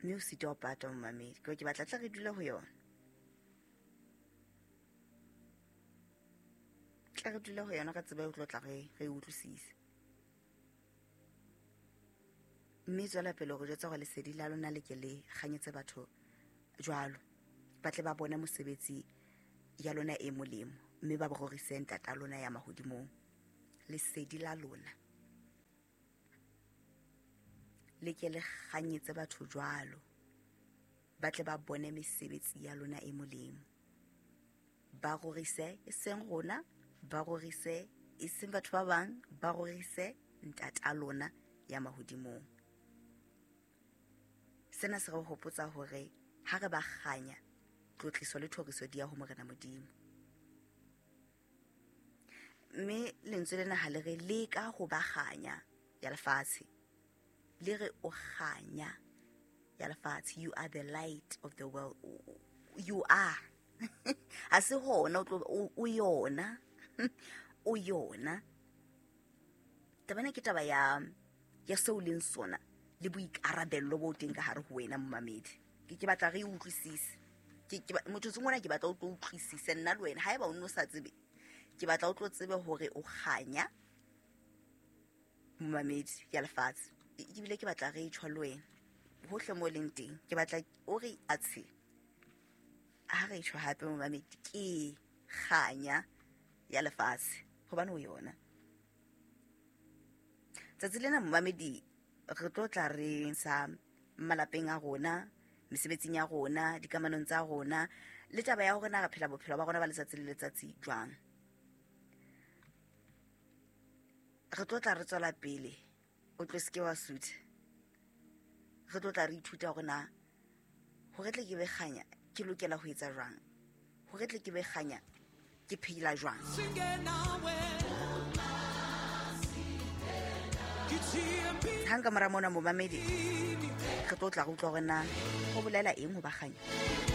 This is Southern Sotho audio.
Mme o sitwa ho patwa momamedi, ke batla tla re dule ho yona. Tla re dule ho yona ka tseba e tlo tla re re utlwisise. Mme tswela pele ho jwetsa hore lesedi la lona le ke le kganyetse batho jwalo. Ba tle ba bone mosebetsi ya lona e molemo mme ba rorise ntata lona ya mahodimong. Lesedi la lona le ke le kganyetse batho jwalo, ba tle ba bone mesebetsi ya lona e molemo, ba rorise e seng rona, ba rorise e seng batho ba bang, ba rorise ntata lona ya mahodimong. Sena se re hopotsa hore ha re ba kganya, tlotliso le thoriso di ya ho Morena Modimo. Mme lentswe lena ha le re leka ho ba kganya ya lefatshe, le re o kganya ya lefatshe. You are the light of the world. You are. Ha se hona o tlo o yona. O yona. Taba ena ke taba ya seo leng sona le boikarabello bo teng ka hare ho wena momamedi. Ke batla re utlwisise. Motho tseng ona ke batla o tlo utlwisise nna le wena. Haeba o no sa tsebe, ke batla o tlo tsebe hore o kganya momamedi ya lefatshe. Ebile ke batla re tjho le wena hohle mo leng teng. Ke batla o re atshe ha re tjho hape momamedi, ke kganya ya lefatshe hobane o yona. Tsatsi lena momamedi re tlo tla re sa malapeng a rona, mesebetsing ya rona, dikamanong tsa rona, le taba ya hore na re phela bophelo ba rona ba letsatsi le letsatsi jwang. Re tlo tla re tswela pele, o tlo seke wa sutha. Re tlo tla re ithuta hore na hore tle ke be kganya ke lokela ho etsa jwang, hore tle ke be kganya ke phela jwang. Hang ka mora mona momamedi, re tlo tla re utlwa hore na ho bolela eng ho ba kganya.